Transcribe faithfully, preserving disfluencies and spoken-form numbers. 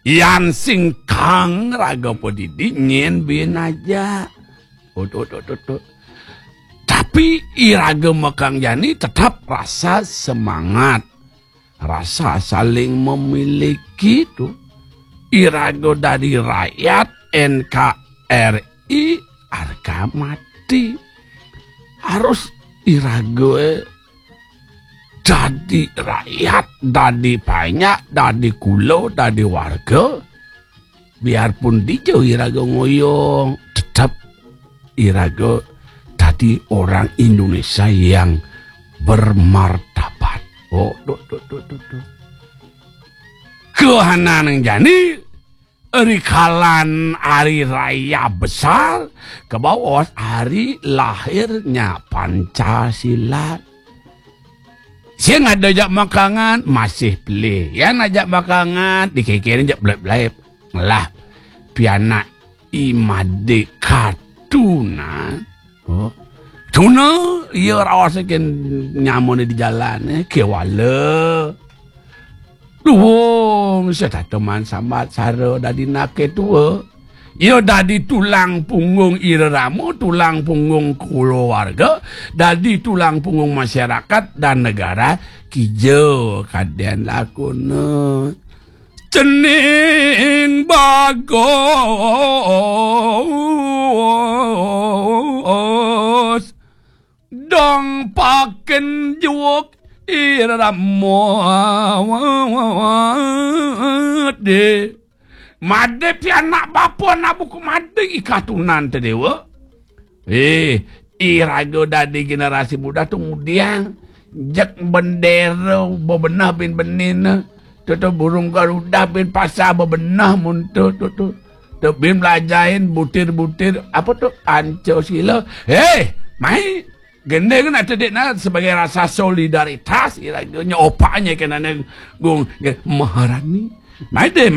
Yan sing kang raga padidi nyen bin aja. Ut, ut, ut, ut, ut. Tapi iraga makang jani tetap rasa semangat, rasa saling memiliki tu. Iraga dari rakyat, N K R I harga mati. Harus iraga, eh, dadi rakyat, dadi panyak, dadi kula, dadi warga. Biarpun dija iraga ngoyong, tetap iraga dadi orang Indonesia yang bermartabat. Oh, tuh, tuh, tuh, tuh, tuh. Kahananang jani, rikalan hari raya besar, kabaos hari lahirnya Pancasila. Sing ada jak makangan, masih pelih. Yan ajak makangan, dikekirin jak belep-belep. Ngelah, pianak i made katunan. Oh. Tuna, iya raos ken nyamone di jalan, eh, kewala. Duwung, setata man sambat sara dadi nake tua. Iya dadi tulang punggung irerama, tulang punggung keluarga, dadi tulang punggung masyarakat dan negara, kija kaden lakuna. Cening bagus, dong paken juwuk irama. Made pianak bapa anak buku made i katunan te dewa. Eh, iraga dadi generasi muda tu ngudiang. Jek bendera bebenah bin benina. Tutu burung garuda bin pasar bebenah mun tu, tu, tu. Tu bin belajain butir-butir, apa tu, Pancasila. Hei, mai. Gendeng nak tedikna sebagai rasa solidaritas, iraga nya opaknya kenana gung, Maharani. Mai deh,